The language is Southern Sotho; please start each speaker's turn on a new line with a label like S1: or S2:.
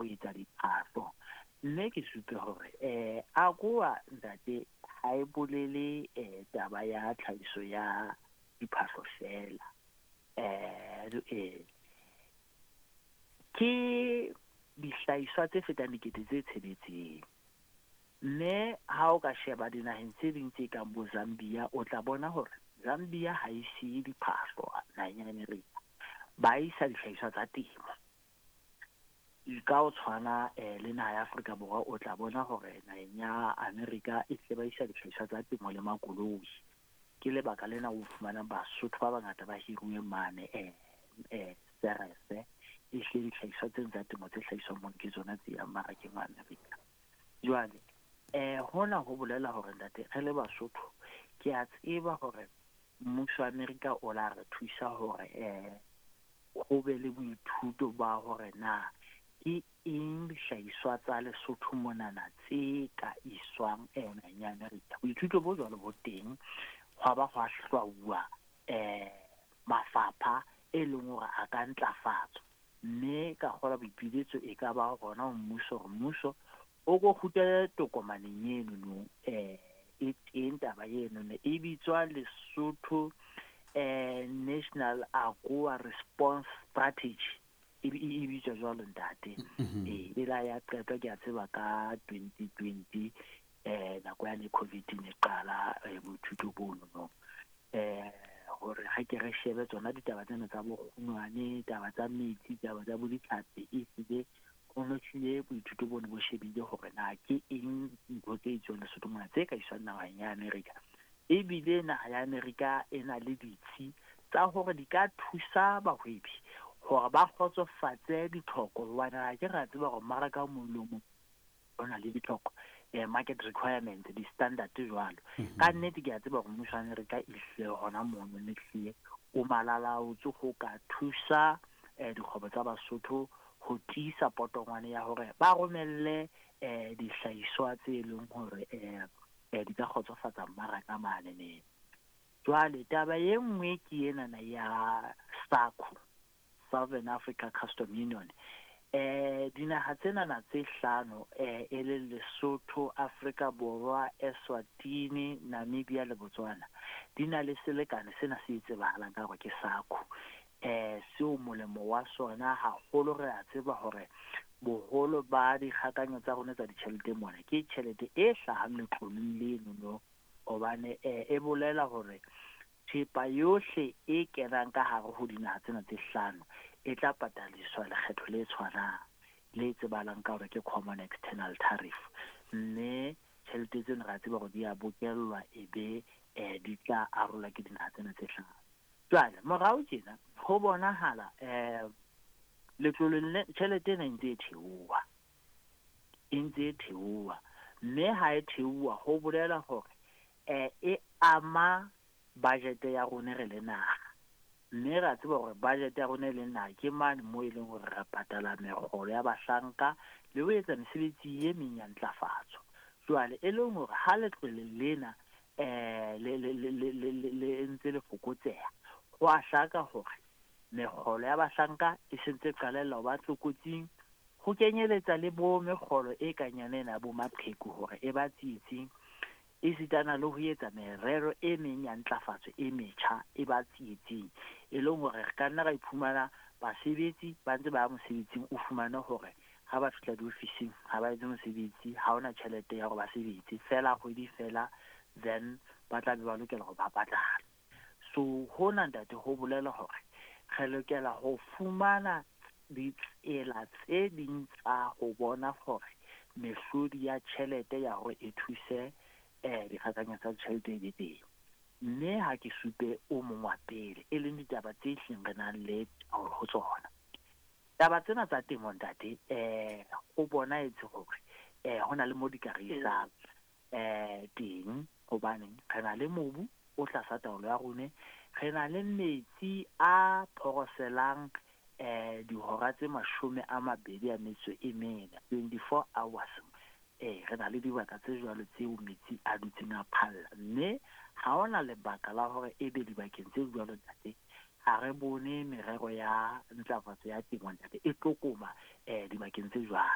S1: Ho etsa diphahlo. Mme ke supe hore AGOA, ntate, ha e bolele taba ya tlhahiso ya diphahlo fela. Ke dihlahiswa tse fetang 6000. Mme ha o ka sheba dinaheng tse ding tse kang bo Zambia, o tla bona hore Zambia ha e siye diphahlo naheng ya America, ba isa dihlahiswa tsa temo. Ka ho tshwana le naha ya Afrika Borwa, o tla bona hore naheng ya America e hle ba isa dihlahiswa tsa temo le makoloi. Ke lebaka lena o fumanang Basotho ba bangata ba hiruwe mane Ceres. E hle dihlahiswa tseno tsa temo tse hlahiswang mono ke tsona tse yang mmarakeng wa America. Jwale hona ho bolela hore, ntate, re le Basotho, ke a tseba hore mmuso wa America o la re thusa hore ho be le boithuto ba hore na ke eng dihlahiswa tsa Lesotho monana tse ka iswang naheng ya America. Boithuto bo jwalo bo teng, hwa ba hwa hlwauwa mafapha e leng hore a ka ntlafatswa. Mme ka kgolwa boipiletso e ka ba hona ho mmuso, hore mmuso o ko kgutlele tokomaneng eno no. E teng taba eno no, e bitswa Lesotho National AGOA Response Strategy, e bitswa jwalo, ntate. E la ya qetwa, ke a tseba, ka 2020, nako yane COVID ne qala. Boithuto bono no hore ha ke re shebe tsona ditaba tsena tsa bokgunwane, taba tsa metsi, taba tsa bo ditlhapi, e hlile ho no hlile boithuto bono bo shebile hore na ke eng ntho tse itswang Lesotho mona tse ka iswang naheng ya America. Ebile naha ya America e na le ditsi tsa hore di ka thusa bahwebi hore ba kgotsofatse ditlhoko, hobane ha ke ra tseba hore mmaraka o mong le o mong o na le ditlhoko, market requirements, di-standard jwalo. Ka nnete ke a tseba hore mmuso wa America e hlile hona mono ne hlile o malalaotse ho ka thusa dikgwebo tsa Basotho ho tiisa potongwane ya hore ba romelle dihlahiswa tse leng hore di ka kgotsofatsa mmaraka mane ne. Jwale taba e nngwe ke enana ya SACU, Southern Africa Custom Union. Dinaha tsenana tse hlano, e leng Lesotho, Afrika Borwa, Eswatini, Namibia le Botswana, di na le selekane sena se tsebahalang ka hore ke SACU. Seo molemo wa sona haholo, re a tseba hore boholo ba dikgakanyo tsa rona tsa ditjhelete mona ke tjhelete e hlahang letloleng leno no, hobane e bolela hore thepa yohle e kenang ka hare ho dinaha tsena tse hlano e tla pataliswa lekgetho le tshwanang le tsebahalang ka hore ke common external tariff. Mme tjhelete tseno re a tseba hore di a bokellwa, e be di tla arolwa ke dinaha tsena tse hlano. Jwale morao tjena ho bonahala letloleng le tjhelete ena e ntse e theoha, e ntse e theoha. Mme ha e theoha ho bolela hore e ama budget ya rona re le naha. Mme re a tseba hore budget ya rona e leng naha ke mane moo e leng hore re patala mekgolo ya bahlanka le ho etsa mesebetsi e meng ya ntlafatso. Jwale e leng hore ha letlole lena le ntse le fokotseha, ho a hlaka hore mekgolo ya bahlanka e sentse qalella ho ba tlokotsing, ho kenyeletsa le bo mekgolo e kang yona ena ya bo maqheku hore e ba tsietsing, esitana le ho etsa merero e meng ya ntlafatso e metjha e ba tsietsing. E leng hore re ka nna ra iphumana basebetsi ba ntse ba ya mosebetsing, o fumane hore ha ba fihla diofising ha ba etse mosebetsi, ha hona tjhelete ya hore ba sebetse fela kgwedi fela, then ba tla be ba lokela hore ba patalwe. So hona, ntate, ho bolela hore re lokela ho fumana ditsela tse ding tsa ho bona hore mehlodi ya tjhelete ya hore e thuse dikgakanyo tsa tjhelete e be teng. Mme ha ke supe o mong wa pele, e leng ditaba tse hlileng re nang le taolo ho tsona, taba tsena tsa temo, ntate. Ho bonahetse hore ho na le mo di ka re isang teng, hobaneng re na le mobu o tlasa taolo ya rone, re na le metsi a phoroselang dihora tse 24, 24 hours. Re na le dibaka tse jwalo tseo metsi a dutseng a phalla, mme ha hona lebaka la hore ebe dibakeng tse jwalo, ntate, ha re bone merero ya ntlafatso ya temo, ntate, e tlokoma dibakeng tse jwalo.